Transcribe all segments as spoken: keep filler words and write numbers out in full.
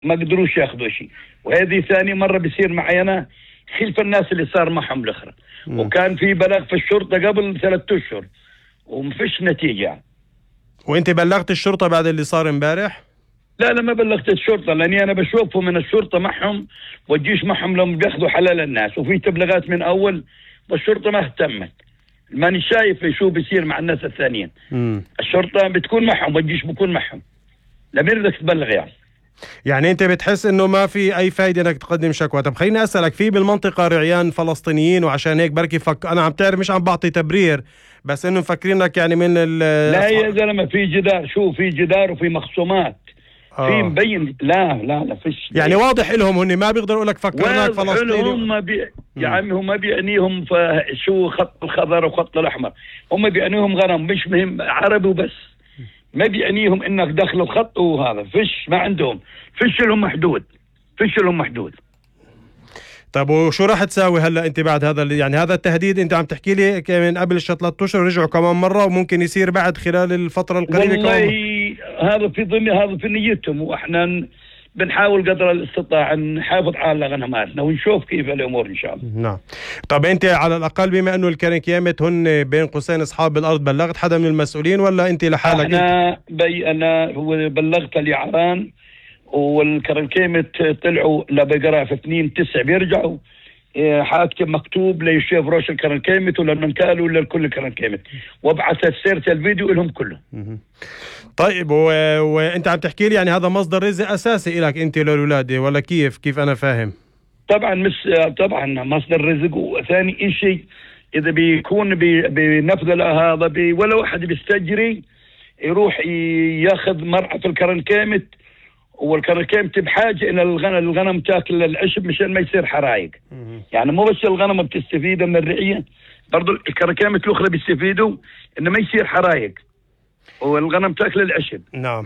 ما قدروش ياخذوا شيء. وهذه ثاني مرة بيصير معي أنا خلف الناس اللي صار معهم الأخرى. وكان في بلاغ في الشرطة قبل ثلاثة أشهر ومفيش نتيجة. وانت بلغت الشرطة بعد اللي صار امبارح؟ لا لا ما بلغت الشرطة، لأني أنا بشوفه من الشرطة معهم والجيش معهم لما بياخذوا حلال الناس، وفي تبلغات من أول والشرطة ما اهتمت. ماني شايف شو بيصير مع الناس الثانيين. مم. الشرطة بتكون معهم والجيش بيكون معهم. لمين بدك تبلغ يعني؟ يعني انت بتحس انه ما في اي فايدة انك تقدم شكوى. طب خليني اسألك، في بالمنطقة رعيان فلسطينيين وعشان هيك بركي فك... انا عم تعرف مش عم بعطي تبرير، بس انه مفكرينك يعني من ال لا يا زلمة في جدار، شو في جدار وفي مخصومات. آه. في مبين. لا لا لا فيش يعني واضح لهم هن ما بيقدروا يقول لك فكرناك فلسطيني. هم بي... يا عمي هم بيعنيهم شو خط الخضر وخط الاحمر، هم بيعنيهم غنم مش مهم عربي وبس، ما بيعنيهم انك دخل الخط وهذا فيش ما عندهم فيش لهم محدود فيش لهم محدود. طب وشو راح تساوي هلا انت بعد هذا يعني هذا التهديد؟ انت عم تحكي لي من قبل ثلاثة اشهر رجعوا كمان مره وممكن يصير بعد خلال الفتره القريبه والله كمان. هذا في ضمن هذا في نيتهم، واحنا بنحاول قدر الاستطاعه نحافظ على غنماتنا ونشوف كيف الامور ان شاء الله. نعم. طب انت على الاقل بما انه الكرنكيامت هن بين قوسين اصحاب الارض، بلغت حدا من المسؤولين ولا انت لحالك؟ انا بي انا بلغت اليعران والكرنكيمت طلعوا لبقرة في اثنين تسع بيرجعوا حاكم مكتوب ليشيف روش الكرنكيمت ولا المنكال ولا الكل الكرنكيمت، وابعث سيرة الفيديو لهم كلهم. طيب و... وانت عم تحكي لي يعني هذا مصدر رزق اساسي لك انت للولاد ولا كيف كيف انا فاهم؟ طبعا مش طبعا مصدر رزق. وثاني شيء اذا بيكون بنفذ هذا بي ولا واحد بيستجري يروح ياخذ مرعى في الكرنكيمت، والكرنكيمت بحاجه الى الغنم الغنم تاكل العشب مشان ما يصير حرايق. يعني مو بس الغنم بتستفيد من الرعيه، برضو الكرنكيمت الاخرى بيستفيدوا انه ما يصير حرايق والغنم تاكل العشب. نعم.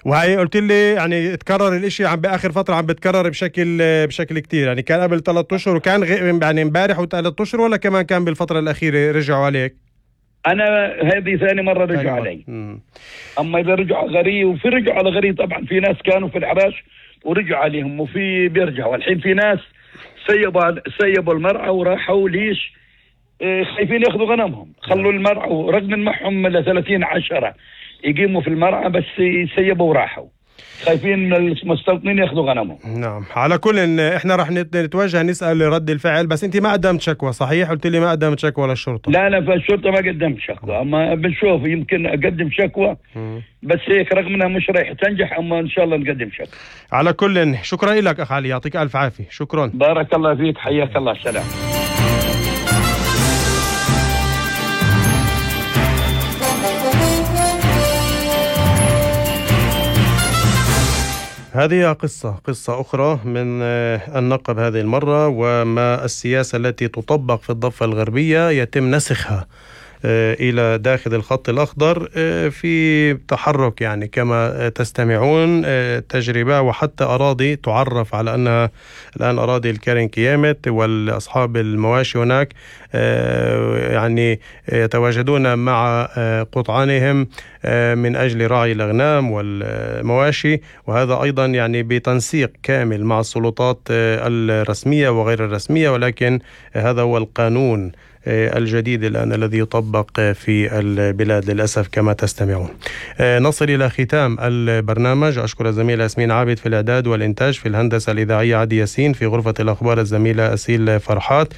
وهي قلت لي يعني تكرر الاشي عم باخر فتره عم بتكرر بشكل بشكل كتير، يعني كان قبل ثلاثة اشهر وكان غ... يعني امبارح وثلاث اشهر ولا كمان كان بالفتره الاخيره رجعوا عليك؟ انا هذه ثاني مره رجعوا علي. مم. اما اذا رجعوا غري وفي رجعوا على غري طبعا في ناس كانوا في العراش ورجعوا عليهم وفي بيرجعوا. الحين في ناس سيبوا سيبوا المرعى وراحوا ليش؟ إيه خايفين ياخذوا غنمهم، خلوا المرعى ورغم معهم ل ثلاثين عشرة يقيموا في المرعى بس سيبوا وراحوا، خايفين المستوطنين ياخذوا غنمهم. نعم. على كل احنا رح نتوجه نسال رد الفعل، بس انت ما قدمت شكوى صحيح؟ قلت لي ما قدمت شكوى للشرطه. لا لا فالشرطه ما قدمت شكوى، اما بنشوف يمكن اقدم شكوى بس هيك رغم انها مش رايحه تنجح، اما ان شاء الله نقدم شكوى. على كل شكرا لك اخ علي، يعطيك الف عافيه. شكرا. بارك الله فيك، حياك الله. سلام. هذه قصة قصة أخرى من النقب هذه المرة، وما السياسة التي تطبق في الضفة الغربية يتم نسخها إلى داخل الخط الأخضر في تحرك يعني كما تستمعون تجربة، وحتى أراضي تعرف على أنها الآن أراضي الكرنكيامت والأصحاب المواشي هناك يعني يتواجدون مع قطعانهم من أجل رعي الأغنام والمواشي، وهذا أيضا يعني بتنسيق كامل مع السلطات الرسمية وغير الرسمية، ولكن هذا هو القانون الجديد الآن الذي يطبق في البلاد للأسف كما تستمعون. نصل إلى ختام البرنامج. أشكر الزميلة ياسمين عابد في الإعداد والإنتاج، في الهندسة الإذاعية عدي ياسين، في غرفة الأخبار الزميلة أسيل فرحات.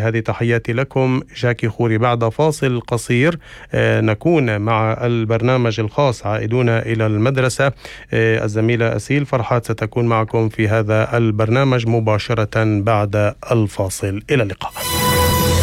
هذه تحياتي لكم، جاكي خوري. بعد فاصل قصير نكون مع البرنامج الخاص عائدون إلى المدرسة. الزميلة أسيل فرحات ستكون معكم في هذا البرنامج مباشرة بعد الفاصل. إلى اللقاء.